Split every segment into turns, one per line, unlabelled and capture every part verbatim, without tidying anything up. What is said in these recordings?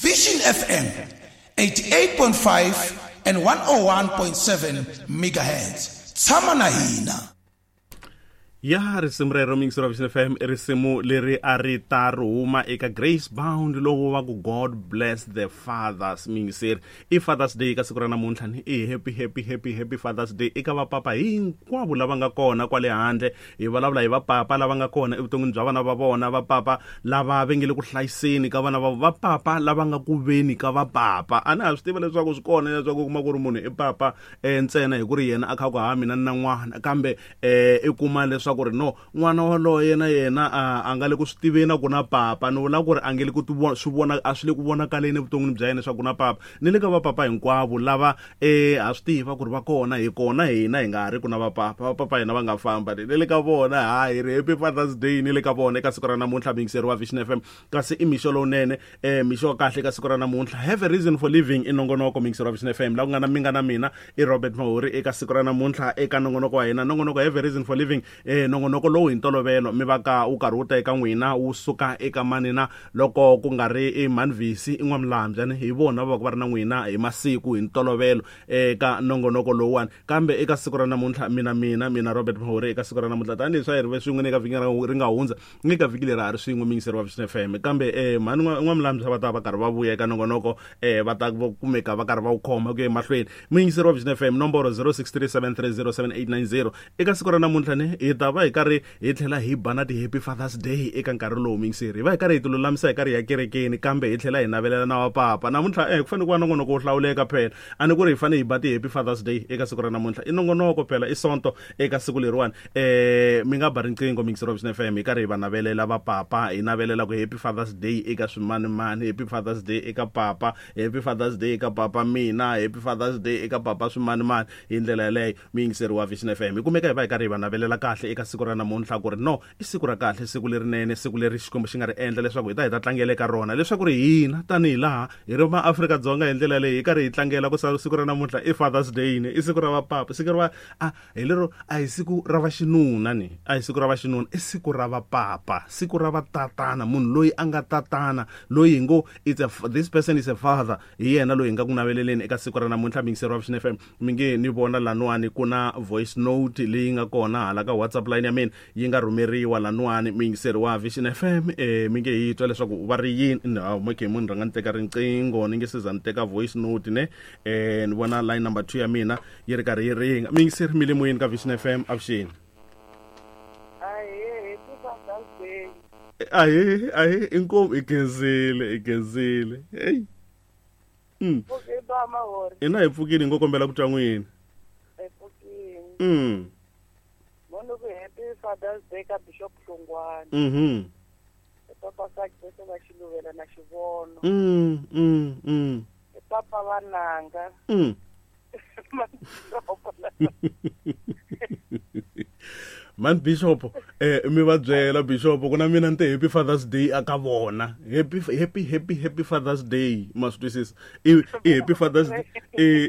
Vision F M eighty-eight point five and one oh one point seven megahertz. Tshama na hina.
Ya risimu rero mixer wa Vision F M i risimu leri a ri ta ri huma eka Grace Bound lowu va ku God Bless the Fathers mixer. I Father's Day ka siku ra namuntlha ni i happy happy happy happy Father's Day eka vapapa hinkwavo lava nga kona kwale handle. Hi vulavula hi vapapa lava nga kona evuton'wini bya vana va vona, vapapa lava va nge le ku hlayiseni ka vana va vapapa lava nga ku veni ka vapapa. A na ha swi tiva leswaku swi kona leswaku u kuma ku ri munhu i papa ntsena hi ku ri yena a kha ku ha mina ni na n'wana, kambe i kuma leswaku ku ri no n'wana waloye na yena a nga le ku swi tiveni ku na papa, ni vula ku ri a nge le ku swi vona a swi le ku vonakaleni evuton'wini bya yena leswaku ku na papa. Ni le ka vapapa hinkwavo lava eh ha swi tiva ku ri va kona, hi kona hina hi nga ha ri ku na vapapa, vapapa hina va nga famba ni le ka vona. Hayi ri happy Father's Day ni le ka vona eka siku ra namuntlha mixer wa Vision F M. Kasi i mixo lowunene, eh mixo wa kahle eka siku ra namuntlha. Have a reason for living i nongonoko mixer wa Vision F M la ku nga na minga na mina i Robert Mahori eka siku ra namuntlha eka nongonoko wa hina, nongonoko Have a Reason for Living. Eh nongonoko lowu hi ntolovelo mi va ka wu karhi wu ta eka n'wina wu suka eka manina loko ku nga ri i Manvisi i N'wamulambya hi vona va va va ri na n'wina hi masiku hi ntolovelo eka nongonoko lowuwani. Kambe eka siku ra namuntlha mina mina mina Robert Mahori eka siku ra namuntlha tanihileswi a hi ri ve swin'we eka vhiki ri nga hundza ni ka vhiki leri a ri swin'we miyingiseri wa Vision F M. Kambe eh mhani N'wamulambya va ta va karhi va vuya eka nongonoko eh va ta kumeka va karhi va wu khoma ku ya emahlweni. Miyingiseri wa Vision F M nomboro zero six three seven three zero seven eight nine zero eka siku ra namuntlha ni hi ta va hi karhi hi tlhela hi ba na ti-happy Father's Day eka nkarhi lowu mixer. Hi va hi karhi hi tilulamisa hi karhi hi ya kerekeni, kambe hi tlhela hi navelela na vapapa namuntlha. Eh ku fanele ku va nongonoko wo hlawuleka phela, a ni ku ri hi fanele hi ba ti-happy Father's Day eka siku ra namuntlha. I nongonoko phela, i sonto eka siku leriwani. Eh mi nga ba riqingho mixer wa Vision F M hi karhi hi va navelela vapapa, hi navelela ku happy Father's Day eka swimanimani, happy Father's Day eka papa, happy Father's Day eka papa mina, happy Father's Day eka papa swimanimani. Hi ndlela yaleyo mixer wa Vision F M hi kumeka hi va hi karhi hi va navelela kahle eka siku ra namuntlha ku ri no i siku ra kahle, siku lerinene, siku leri Xikwembu xi nga ri endla leswaku hi ta hi ta tlangela eka rona, leswaku ri hina tanihi laha hi ri maAfrika-Dzonga hi ndlela leyi hi karhi hi tlangela ku siku ra namuntlha i Father's Day ni i siku ra vapapa, siku ra a hi lero a hi siku ra vaxinuna ni a hi siku ra vaxinuna, i siku ra vapapa, siku ra vatatana, munhu loyi a nga tatana loyi hi ngo it's a this person is a father, hi yena loyi hi nga ku naveleleni eka siku ra namuntlha. Mixer wa Vision F M mi nge ni vona lanwani ku na voice note leyi nga kona hala ka WhatsApp line ya mina yi nga rhumeriwa lanwani mixer wa Vision F M. Eh mi nge hi twa leswaku va ri yini. Okay, munhu rhanga ni teka riqingho ni nge se za ni teka voice note ne. Eh ni vona line number two ya mina yi ri karhi yi ringa. Mixer mi le moyeni ka Vision F M, avuxeni. Ahe ahe inkomu i khensile i khensile. Hey mm ina hi pfukile ngo kombela ku twa n'wina. Mm
Mono ku happy Father's Day ka Bishop Hlongwane.
Mhm.
Papa Success va Xiluvela na Xivono.
Mm mm mm.
Papa Vananga.
Mm. Man Bishop eh mi va byela Bishop ku na mina ni te happy Father's Day aka vona. Happy happy happy happy Father's Day ma swi twisisa. I happy Father's Day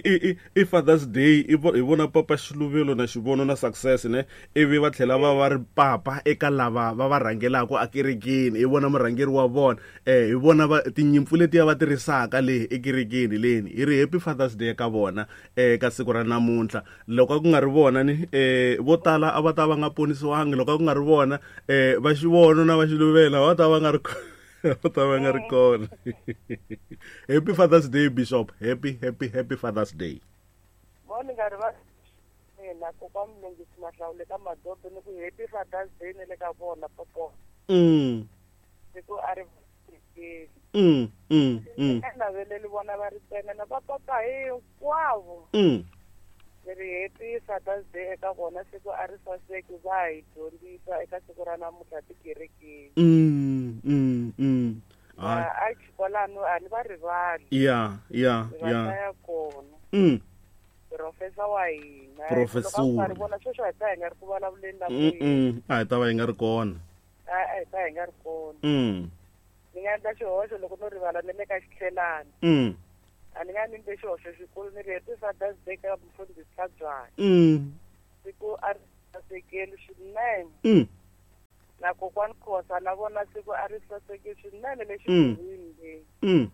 i i Father's Day i vona papa Xiluvelo na Xivono na Success ne ivi va tlhela va va ri papa eka lava va va rhangelaka ekerekeni, hi vona murhangeri wa vona eh hi vona va tinyimpfu letiya va tirhisaka le ekerekeni leni. Hi ri happy Father's Day ka vona eka siku ra namuntlha. Loko ku nga ri vona ni eh vo tala a va ta va nga ponisiwangi, loko ku nga ri vona eh va Xivono na va Xiluvela va ta va nga ri va ta va nga ri kona. Happy Father's Day Bishop, happy happy happy Father's Day.
Moni nga ri va mina kokwa Mlungisi Mahlawule ka Madobe ni ku happy Father's Day ni le ka vona popo.
Mm.
Siku a ri
Mm mm mm.
Naveleli vona va ri ntsena na vapapa hinkwavo.
Mm.
Ri happy Father's Day eka vona, siku a ri saseki va hi dyondzisa eka siku ra namuntlha tikerekeni.
Mm mm mm.
A xikolano a ni va rivali.
Yeah yeah yeah.
Va ya kona.
Mm.
Professor wa hina.
Professor.
Loko va vona sweswo hi ta hi nga ri ku vulavuleni na
Mm mm. A hi ta va hi nga ri kona.
A hi ta hi nga ri kona.
Mm.
Ni nga endla xihoxo loko no rivala ni le ka xitlhelani.
Mm.
A ni nga ni endle xihoxo xikulu ni ri happy Father's Day ka mufundhisi Tlhabyana.
Mm.
Siku a ri sasekeli swinene.
Mm.
Na kokwani Khosa na vona siku a ri saseke swinene le xikolweni le.
Mm.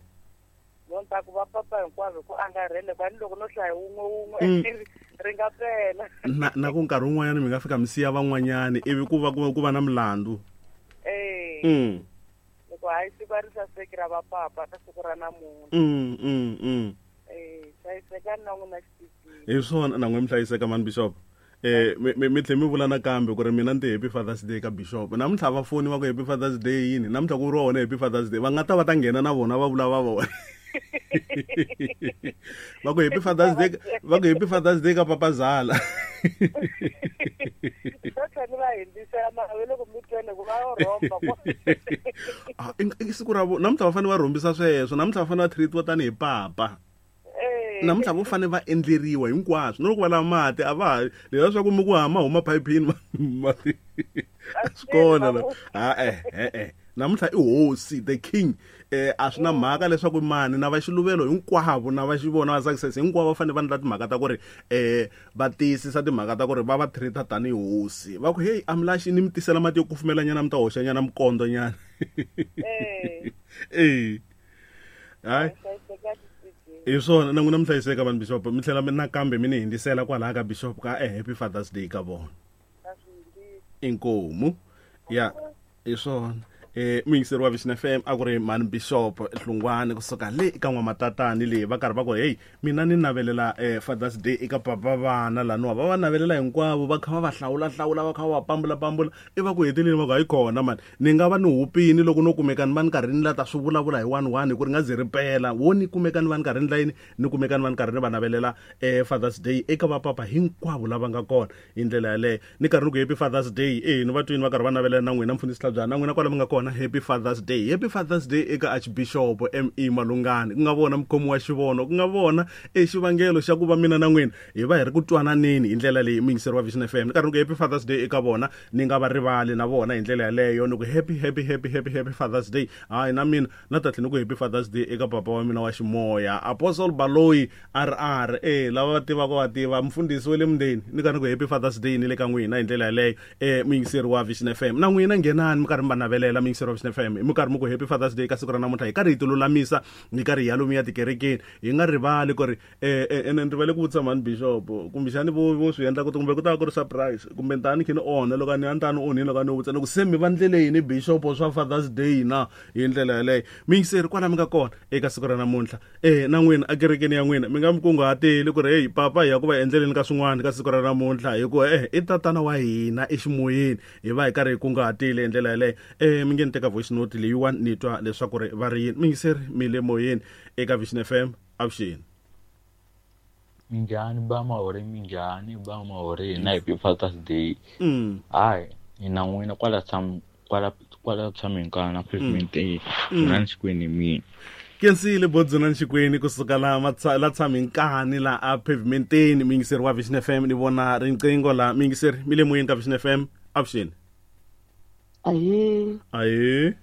ta ku va papa hinkwavo ku angarhele kwani loko no hlaya wun'we wun'we ri nga pela
na na ku nkarhi wun'wanyana mi nga fika mi siya van'wanyani ivi ku va ku va na milandzu
eh
mm
loko hayi siku ri saseki ra va papa ka siku ra namuntlha
mm mm mm
eh hlayisekani na n'wina xititini
hi swona na n'we mi hlayiseka mani bishop eh mi mi tlhe mi vula nakambe ku ri mina ni ti happy Father's Day ka bishop namuntlha va foni va ku happy Father's Day yini namuntlha ku vuriwa wona happy Father's Day va nga ta va ta nghena na vona va vula va vona va ku happy Father's Day va ku happy Father's Day ka papa Zala ah i siku ra vo namuntlha va fanele va rhombisa sweswo namuntlha va fanele va treatiwa tanihi papa namuntlha vo fanele va endleriwa hinkwaswo no loko va lava mati a va ha leswiya swa ku mi ku hama huma phayiphini mati swi kona la ha eh eh namuntlha i hosi the king eh a swi na mhaka leswaku mani na va xiluvelo hinkwavo na va xivona va success hinkwavo va fanele va endla timhaka ta ku ri eh va tiyisisa timhaka ta ku ri va va treat-a tanihi hosi va ku hey amlaxi ni mi tisela mati yo kufumelanyana mi ta hoxanyana mikondo nyana
eh
eh hayi hi swona na n'wina mi hlayiseka vanhu bishop mi tlhela nakambe mi ni hindzisela kwalaha ka bishop ka eh happy Father's Day ka vona inkomu ya hi swona eh muyingiseri wa Vision F M a ku ri mani bishop Hlungwani kusuka le ka n'wamatatani leyi va karhi va ku hey mina ni navelela eh Father's Day eka papa vana laniwa va va navelela hinkwavo va kha va va hlawula hlawula va kha va va pambula pambula i va ku heteleni va ku hayi kona mani ni nga va ni hupini loko no kumeka ni va ni karhi ni la ta swi vulavula hi one one hi ku ri nga ze ri pela wo ni kumeka ni va ni karhi ni layini ni kumeka ni va ni karhi ni va navelela eh Father's Day eka vapapa hinkwavo lava nga kona hi ndlela yaleyo ni karhi ni ku happy Father's Day eh ni va twini va karhi va navelela na n'wina mfundhisi Hlabyana na n'wina kwala mi nga kona happy Father's Day happy Father's Day eka Archbishop M E Malungani ku nga vona mukhomi wa xivono ku nga vona e xivangelo xa ku va mina na n'wina hi va hi ri ku twananeni hi ndlela leyi muyingiseri wa Vision F M ni karhi ni ku happy Father's Day eka vona ni nga va rivali na vona hi ndlela yaleyo ni ku happy happy happy happy happy Father's Day hayi na mina na ta tlhela ni ku happy Father's Day eka papa wa mina wa ximoya Apostle Baloyi R R eh lava va tivaka va tiva mfundhisi wa le mundeni ni karhi ni ku happy Father's Day ni le ka n'wina hi ndlela yaleyo eh muyingiseri wa Vision F M na n'wina nghenani mi karhi mi va navelela muyingiseri wa Vision F M mi karhi mi ku happy Father's Day ka siku ra namuntlha hi karhi hi tilulamisa hi karhi hi ya lomu ya tikerekeni hi nga rivali ku ri eh ene ni rivale ku vutisa mhani bishop kumbexani vo vo swi endla ku kumbe ku ta va ku ri surprise kumbe ntani khe ni onha loko a ni a ni ta ni onhini loko a ni vutisa loko se mi va ndlele yini bishop swa Father's Day na hi ndlela yaleyo muyingiseri kwala mi nga kona eka siku ra namuntlha eh na n'wina ekerekeni ya n'wina mi nga mi kunguhateli ku ri hey papa hi ya ku va endleleni ka swin'wana ka siku ra namuntlha hikuva eh i tatana wa hina eximoyeni hi va hi karhi hi kunguhatile hi ndlela yaleyo eh mi nge ni teka voice note leyiwani ni twa leswaku ri va ri yini muyingiseri mi le moyeni eka Vision F M avuxeni
Minjhani ba mahore minjhani ba mahore na happy Father's Day
mm
hayi hina n'wina kwala tsham kwala kwala tshameni ka na pavement e na Xikweni mina
Kensile Bodzona Xikweni kusuka la la tshami nkani la a pavementeni muyingiseri wa Vision F M ni vona riqingho la muyingiseri mi le moyeni ka Vision F M avuxeni
Ahe
ahe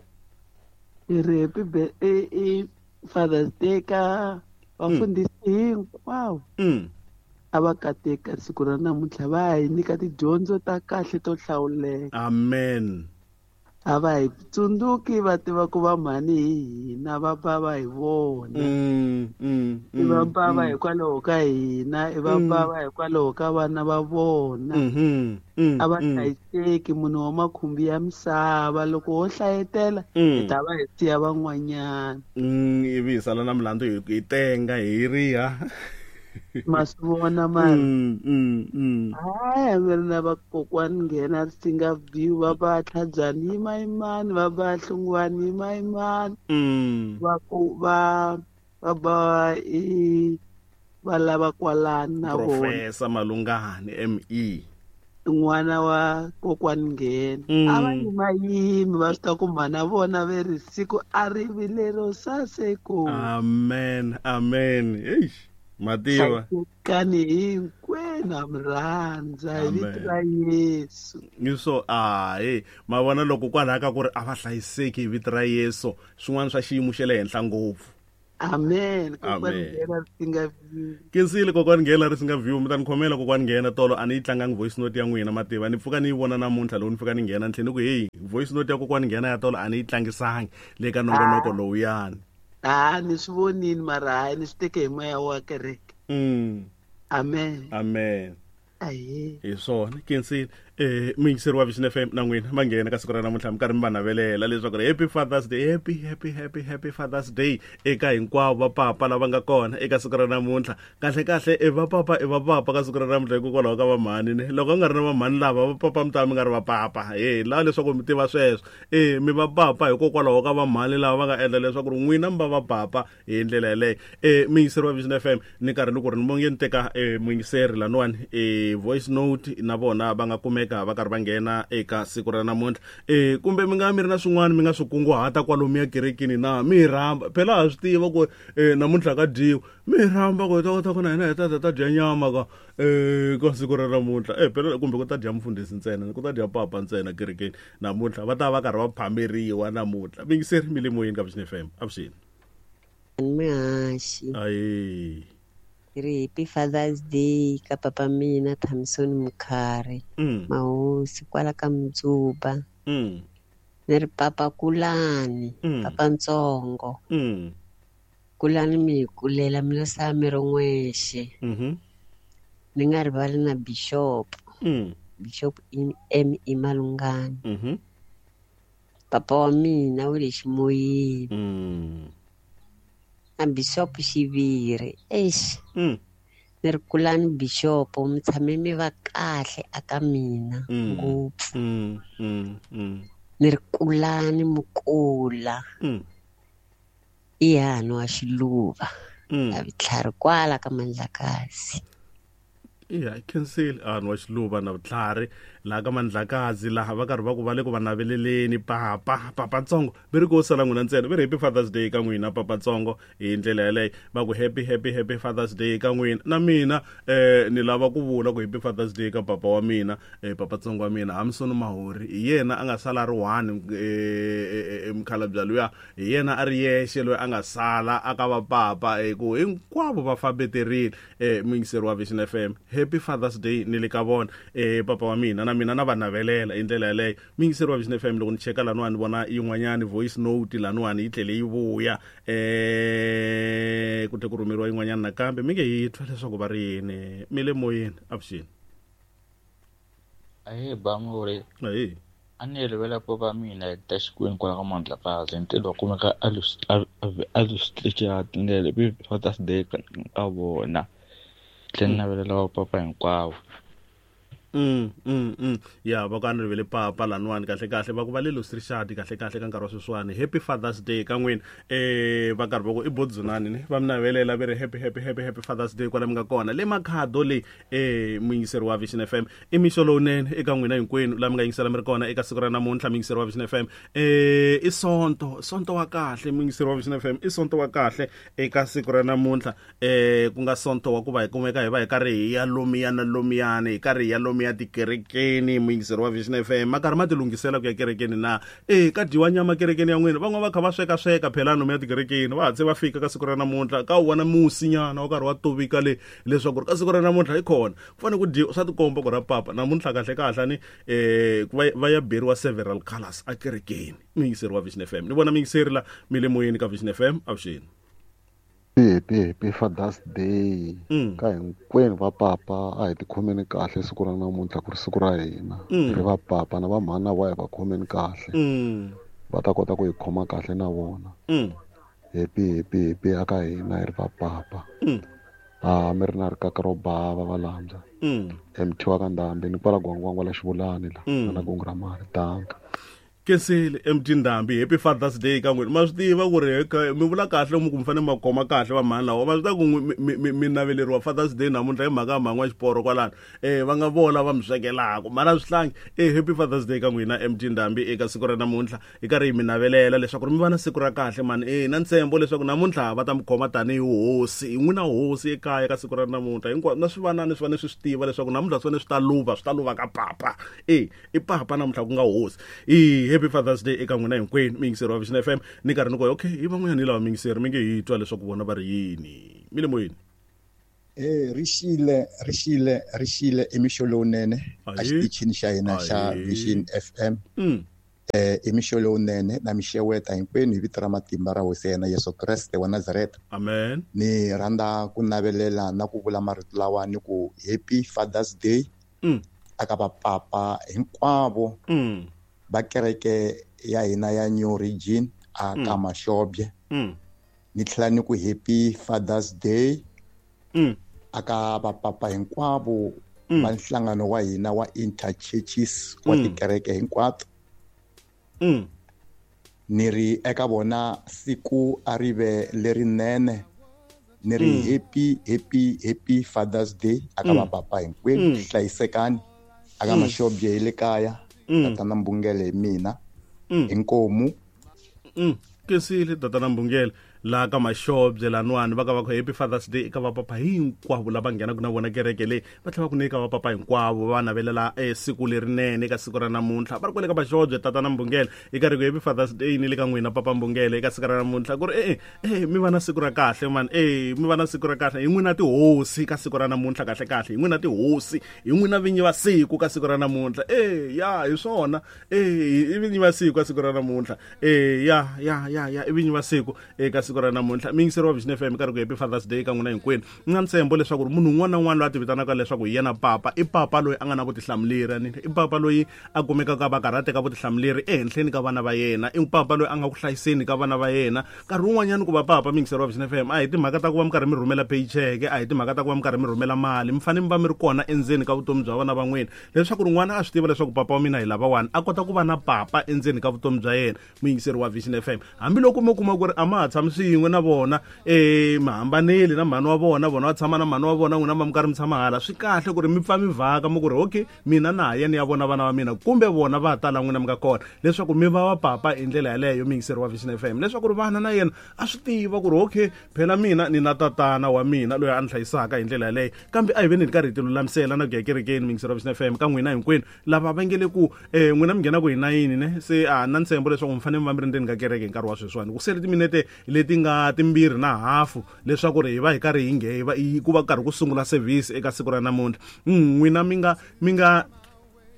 i ri happy i Father's Day ka vafundhisi hinkwavo
mm
a va kateka siku ra namuntlha va hi nyika tidyondzo ta kahle to hlawuleka
amen
a va hi tsundzuki va tiva ku va mhani hi hina va bava hi vona
mm mm
i va bava hikwalaho ka hina i va bava hikwalaho ka vana va vona
mhm
a va hlayiseki munhu wa makhumbi ya misava loko ho hlayetela hi ta va hi siya van'wanyana
mm ivi hi sala na milandzu hi tenga hi riha
ma swi vona mara
mm mm mm
hayi mi ri na vakokwani nghena Risinga View va va Tlhabyani yimayimani va va Hlungwani yimayimani
mm
va ku va va va i va lava kwalani na vona
Professor Malungani M E
n'wana wa kokwani nghena a va yimayimi va swi ta ku mhana vona ve ri siku a ri vi lero saseko
amen amen eish mativa
hlayisekani hinkwenu ha mi rhandza hi vito ra Yesu
so ahe ma vona loko kwalaha ka ku ri a va hlayiseki hi vito ra Yesu swin'wana swa xiyimo xa le henhla ngopfu
amen kokwani nghena Risinga View
Kensile kokwani nghena Risinga View mi ta ni khomela kokwani nghena tolo a ni yi tlangangi voice note ya n'wina mativa ni pfuka ni yi vona namuntlha loko ni fika ni nghena ni tlhela ni ku hey voice note ya kokwani nghena ya tolo a ni yi tlangisangi le ka nongonoko lowuyani
Ha ni swi vonini mara hayi ni swi teke hi moya wa kereke.
Mm.
Amen.
Amen.
Aye.
Hi swona kensile eh muyingiseri wa Vision F M na n'wina va nghena ka siku ra namuntlha mi karhi mi va navelela leswaku happy Father's Day, happy happy happy happy Father's Day eka hinkwavo va papa lava nga kona eka siku ra namuntlha. Kahle kahle e va papa e va papa ka siku ra namuntlha hikokwalaho ka vamhani ne loko u nga ri na vamhani lava va papa mi ta mi nga ri va papa e laha leswaku mi tiva sweswo e mi va papa hikokwalaho ka vamhani lava va nga endla leswaku ri n'wina mi va va papa hi ndlela yeleyo. E muyingiseri wa Vision F M ni karhi ni ku ri ni monge ni teka e muyingiseri laniwani e voice note na vona va nga kumeka va karhi va nghena eka siku ra namuntlha. E kumbe mi nga mi ri na swin'wana mi nga swi kunguhata kwalomu ya kerekeni na mi rhamba phela ha swi tiva ku e namuntlha ka dyiwa mi rhamba ku hi ta kota ku na hina hi ta ta ta dya nyama ka e ka siku ra namuntlha e phela kumbe ku ta dya mfundhisi ntsena ku ta dya papa ntsena kerekeni namuntlha va ta va karhi va phameriwa namuntlha. Mingiseri mi le moyeni ka Vision F M avuxeni.
Mihaxi.
Ayi.
Ri happy Father's Day ka papa mina Thamson Mukhari.
Mm.
Mahosi kwala ka Mdzuba.
Mm.
Ni ri papa kulani,
mm.
papa ntsongo.
Mm.
Kulani mi kulela mina sa mi ri n'wexe.
Mhm.
Ni nga rivali na Bishop.
Mm.
Bishop M E Malungani.
Mhm.
Papa wa mina u le ximoyeni.
Mm.
Na Bishop xiviri eish.
Mm.
Ni ri kulani Bishop mi tshame mi va kahle aka mina ngopfu.
Mm. Mm. Mm.
Ni ri kulani mukula.
Mm.
I hano wa Xiluva.
Mm.
Na vutlhari kwala ka Mandlakazi.
Yeah, cancel an wa Xiluva na vutlhari laha ka Mandlakazi laha va karhi va ku va le ku va naveleleni papa papa ntsongo ve ri ko sala n'wina ntsena ve ri happy Father's Day ka n'wina papa ntsongo hi ndlela yeleyo va ku happy happy happy Father's Day ka n'wina na mina eh ni lava ku vula ku happy Father's Day ka papa wa mina eh papa ntsongo wa mina Hamson Mahori hi yena a nga sala ri one eh mukhalabya luya hi yena a ri yexe loyi a nga sala a ka va papa eh ku hinkwavo va fambeterile eh muyingiseri wa Vision F M happy Father's Day ni le ka vona eh papa wa mina na mina na va navelela hi ndlela yeleyo. Muyingiseri wa Vision F M loko ni cheka laniwani ni vona yin'wanyani voice note laniwani yi tlhele yi vuya eh ku tlhe ku rhumeriwa yin'wanyani nakambe mi nge hi twa leswaku va ri yini mi le moyeni avuxeni.
Ahe bamuri.
Ahe.
A ni rivela papa mina hi ta Xikwembu kwala ka Mandlakazi ntirho wa kumeka a lusitlichati ndlela happy Father's Day ka vona tlhela navelela wa papa hinkwavo.
Mm mm mm ya va ka ni rivele papa laniwani kahle kahle va ku va le Lusrishadi kahle kahle ka nkarhi wa sweswiwani happy Father's Day ka n'wina eh va karhi va ku i bodzunani ne va mi navelela va ri happy happy happy happy Father's Day kwala mi nga kona le Makhado le eh muyingiseri wa Vision F M i mixo lowunene eka n'wina hinkwenu laha mi nga yingisela mi ri kona eka siku ra namuntlha muyingiseri wa Vision F M eh i sonto sonto wa kahle muyingiseri wa Vision F M i sonto wa kahle eka siku ra namuntlha eh ku nga sonto wa ku va hi kumeka hi va hi karhi hi ya lomiyana lomiyana hi karhi hi ya lomiya tikerekeni muyingiseri wa Vision F M ma karhi ma ti lunghisela ku ya kerekeni na e ka dyiwa nyama kerekeni ya n'wina van'wana va kha va sweka sweka phela lomu ya tikerekeni va hatse va fika ka siku ra namuntlha ka wu vona musinyana wa karhi wa tovika le leswaku ri ka siku ra namuntlha hi kona ku fanele ku dyiwa swa tikomba ku ra papa namuntlha kahle kahle ni eh va ya beriwa several colors a kerekeni muyingiseri wa Vision F M ni vona muyingiseri la mi le moyeni ka Vision F M avuxeni.
Happy happy Father's Day
mm.
ka hinkwenu va papa a hi tikhomeni kahle siku ra namuntlha ku ri siku ra hina
mm.
ri va papa na va mhana va hi va khomeni kahle
mm.
va ta kota ku hi khoma kahle na vona
mm.
happy happy happy aka hina hi ri va papa
mm.
a mi ri na rikaka ro bava va landza
mm.
M T wa ka Ndhambi ni kwala Gwangwangwa la Xivulani la
mm.
na Gungu ra mali danka.
Kesele M T Ndhambi happy Father's Day ka n'wina ma swi tiva ku ri mi vula kahle mi ku mi fanele ma khoma kahle va mhani lawa ma swi tiva ku mi naveleriwa Father's Day namuntlha hi mhaka ya mhani wa xiporo kwalano eh va nga vola va mi swekelaka mara swihlangi eh happy Father's Day ka n'wina M T Ndhambi eka siku ra namuntlha hi karhi hi mi navelela leswaku mi va na siku ra kahle mani eh na ntshembo leswaku namuntlha va ta mi khoma tanihi hosi hi n'wina hosi ekaya ka siku ra namuntlha hinkwaswo na swivanani swi fanele swi swi tiva leswaku namuntlha swi fanele swi ta luva swi ta luva ka papa eh i papa namuntlha ku nga hosi eh happy Father's Day eka n'wina hinkwenu muyingiseri wa Vision F M ni karhi ni ku okay hi van'wanyana hi lava muyingiseri mi nge hi twa leswaku vona va ri yini mi le moyeni.
Eh rixile rixile rixile i mixo lowunene a xitichini xa hina xa Vision F M.
Mm.
Eh i mixo lowunene na mixeweta hinkwenu hi vito ra matimba ra Hosi ya hina Yesu Kreste wa Nazareta.
Amen.
Ni rhandza ku navelela na ku vula marito lawa ni ku happy Father's Day.
Mm.
Aka vapapa hinkwavo
mm.
va kereke ya hina ya New Region aka
mm.
Mashobye.
Mm.
Ni tlhela ni ku happy Father's Day
mm.
aka vapapa hinkwavo
mm.
va nhlangano wa hina wa interchurches wa
mm.
tikereke hinkwato.
Mm.
Ni ri eka vona siku a ri ve lerinene. Ni ri
mm.
happy happy happy Father's Day aka
mm.
vapapa hinkwenu.
mm.
Hlayisekani aka
mm.
Mashobye hi le kaya.
mm.
Tatana Mbungele hi mina.
mm.
Inkomu.
mm. Kesile tatana Mbungele la ka Mashobye lanwani va ka va ku happy Father's Day eka vapapa hinkwavo lava nghenaka na vona kereke leyi va tlhela va ku nyika vapapa hinkwavo va navelela siku lerinene eka siku ra namuntlha va ri kwale ka Mashobye tatana Mbungele i karhi ku happy Father's Day ni le ka n'wina papa Mbungele eka siku ra namuntlha ku ri e e mi va na siku ra kahle man e mi va na siku ra kahle hi n'wina tihosi ka siku ra namuntlha kahle kahle hi n'wina tihosi hi n'wina vinyi va siku ka siku ra namuntlha e ya hi swona e i vinyi va siku ka siku ra namuntlha e ya ya ya ya i vinyi va siku eka siku ra namuntlha miyingiseri wa Vision F M karhi ku happy Father's Day ka n'wina hinkwenu ni na ntshembo leswaku munhu un'wana na un'wana loyi a ti vitanaka leswaku hi yena papa i papa loyi a nga na vutihlamuleri ni i papa loyi a kumekaka va karhi a teka vutihlamuleri ehenhleni ka vana va yena i papa loyi a nga ku hlayiseni ka vana va yena nkarhi wun'wanyana ku va papa miyingiseri wa Vision F M a hi timhaka ta ku va mi karhi mi rhumela paycheck a hi timhaka ta ku va mi karhi mi rhumela mali mi fanele mi va mi ri kona endzeni ka vutomi bya vana va n'wina leswaku ri n'wana a swi tiva leswaku papa wa mina hi lavawani a kota ku va na papa endzeni ka vutomi bya yena muyingiseri wa Vision F M hambiloko mi kuma ku ri a ma ha tshami swin'we na vona eh mi hambanile na mhani wa vona vona va tshama na mhani wa vona n'wina va mi karhi mi tshama hala swi kahle ku ri mi pfa mi vhaka mi ku ri okay mina na ha ya ni ya vona vana va mina kumbe vona va ta la n'wina mi nga kona leswaku mi va va papa hi ndlela yaleyo muyingiseri wa Vision F M leswaku ri vana na yena a swi tiva ku ri okay phela mina ni na tatana wa mina loyi a ni hlayisaka hi ndlela yaleyo kambe a hi veni hi karhi hi ti lulamisela na ku ya kerekeni muyingiseri wa Vision F M ka n'wina hinkwenu lava va nge le ku eh n'wina mi nghena ku hi nayini ne se a na ntshembo leswaku mi fanele mi va mi ri ndzeni ka kereke hi nkarhi wa sweswiwani ku sele timinete leti nga timbirhi na hafu leswaku ri hi va hi karhi hi nge va ku va karhi ku sungula service eka siku ra namuntlha n'wina mi nga mi nga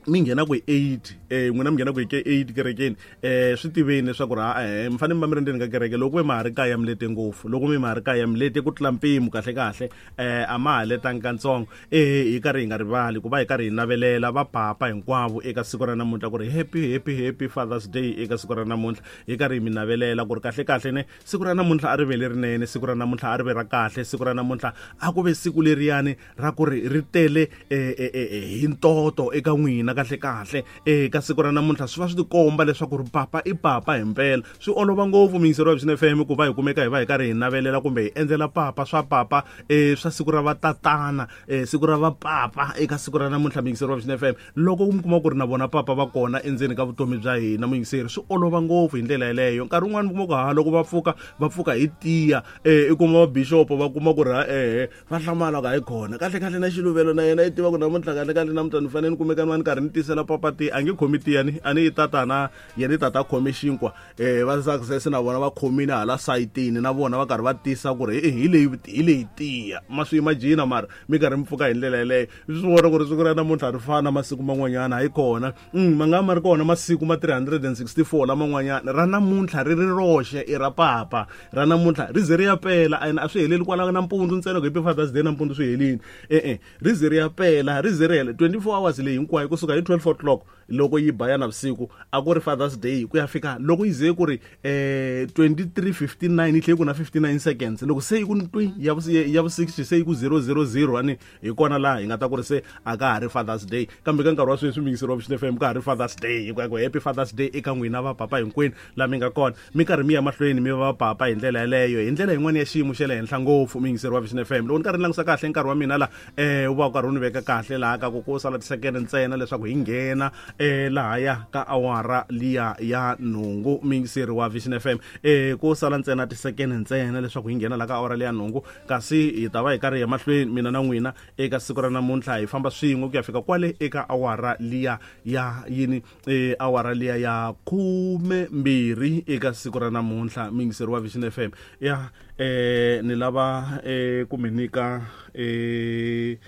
mi nghena ku hi eight eh n'wina mi nghena ku hi ke eight kerekeni eh swi tiveni leswaku ri eh mi fanele mi va mi ri ndzeni ka kereke loko mi ma ha ri kaya mi lete ngopfu loko mi ma ha ri kaya mi lete ku tlula mpimo kahle kahle eh a ma ha letangi katsongo eh hi karhi hi nga rivali ku va hi karhi hi navelela vapapa hinkwavo eka siku ra namuntlha ku ri happy happy happy Father's Day eka siku ra namuntlha hi karhi hi mi navelela ku ri kahle kahle ne siku ra namuntlha a ri ve lerinene siku ra namuntlha a ri ve ra kahle siku ra namuntlha a ku ve siku leriyani ra ku ri ri tele hi ntoto eka n'wina kahle kahle eka siku ra namuntlha swi va swi tikomba leswaku ri papa i papa hi mpela swi olova ngopfu miyingiseri wa Vision F M ku va hi kumeka hi va hi karhi hi navelela kumbe hi endlela papa swa papa eh swa siku ra vatatana eh siku ra vapapa eka siku ra namuntlha miyingiseri wa Vision F M loko mi kuma ku ri na vona papa va kona endzeni ka vutomi bya hina muyingiseri swi olova ngopfu hi ndlela yeleyo nkarhi wun'wani mi kuma ku ha loko va pfuka va pfuka hi tiya eh i kuma va bishop va kuma ku ri ha eh va hlamala ka hi kona kahle kahle na xiluvelo na yena i tiva ku namuntlha kahle kahle namuntlha ni fanele ni kumeka ni va ni karhi ni tisela papa ti a nge khomi tiyani a ni yi tatana yena i tata khome xinkwa eh va success na vona va khomile hala sayitini na vona va karhi va tisa ku ri hi leyi hi leyi tiya ma swi imagine mara mi karhi mi pfuka hi ndlela yeleyo swi vona ku ri siku ra namuntlha ri fana masiku man'wanyana hayi kona ma nga ma ri kona masiku ma three hundred and sixty-four laman'wanyana ra namuntlha ri ri roxe i ra papa ra namuntlha ri ze ri ya pela ene a swi heleli kwala nampundzu ntsena ku happy Father's Day nampundzu swi helini e-e ri ze ri ya pela ri ze ri hela twenty-four hours leyi hinkwayo kusuka hi twelve o'clock loko yi ba ya navusiku a ku ri Father's Day ku ya fika loko yi ze ku ri eh twenty-three fifty-nine yi tlhe ku na fifty-nine seconds loko se yi ku ntwi ya vu ya vu sixty se yi ku zero zero zero ani hi kona laha hi nga ta ku ri se a ka ha ri Father's Day kambe ka nkarhi wa sweswi miyingiseri wa Vision F M ka ha ri Father's Day hikuva ku happy Father's Day eka n'wina vapapa hinkwenu laha mi nga kona mi karhi mi ya mahlweni mi va vapapa hi ndlela yeleyo hi ndlela yin'wana ya xiyimo xa le henhla ngopfu miyingiseri wa Vision F M loko ni karhi ni langusa kahle nkarhi wa mina la eh wu va wu karhi wu ni veka kahle laha ka ku ku sala tisekende ntsena leswaku hi nghena eh lahaya ka awara liya ya nhungu miyingiseri wa Vision F M eh ku sala ntsena tisekende ntsena leswaku hi nghena la ka awara liya nhungu kasi hi ta va hi karhi hi mahlweni mina na n'wina eka siku ra namuntlha hi famba swin'we ku ya fika kwale eka awara liya ya yini eh awara liya ya khume mbirhi eka siku ra namuntlha miyingiseri wa Vision F M ya eh ni lava eh ku mi nyika eh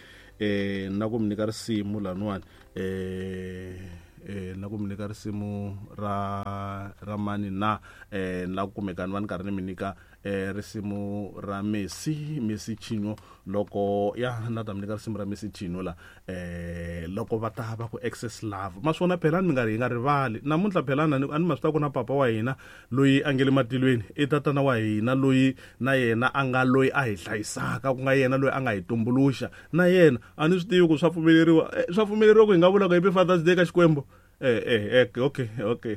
eh na ku mi nyika risimu laniwani eh eh na ku mi nyika risimu ra ra mani na eh na ku kumeka ni va ni karhi ni mi nyika eh risimu ra Messi Messi Chino loko ya na ta mi nyika risimu ra Messi Chino la eh loko va ta va ku excess love ma swona phela ni nga ri hi nga rivali namuntlha phela a ni ma swi ta ku na papa wa hina loyi a nge le matilweni i tatana wa hina loyi na yena a nga loyi a hi hlayisaka ku nga yena loyi a nga hi tumbuluxa na yena a ni swi tivi ku swa pfumeleriwa swa pfumeleriwa ku hi nga vula ku happy Father's Day ka Xikwembu eh eh okay okay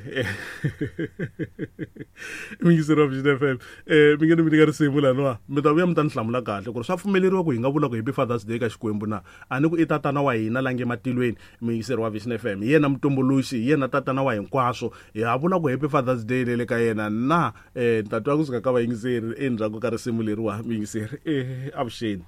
mingiseri wa Vision F M eh mi nge ni mi nyika risimu laniwa mi ta vuya mi ta ni hlamula kahle ku ri swa pfumeleriwa ku hi nga vula ku happy Father's Day ka Xikwembu na a ni ku i tatana wa hina la nge matilweni mingiseri wa Vision F M hi yena mutumbuluxi hi yena tatana wa hinkwaswo hi ha vula ku happy Father's Day le le ka yena na eh ni ta twa kusuka ka vayingiseri endzhaku ka risimu leriwa mingiseri eh avuxeni.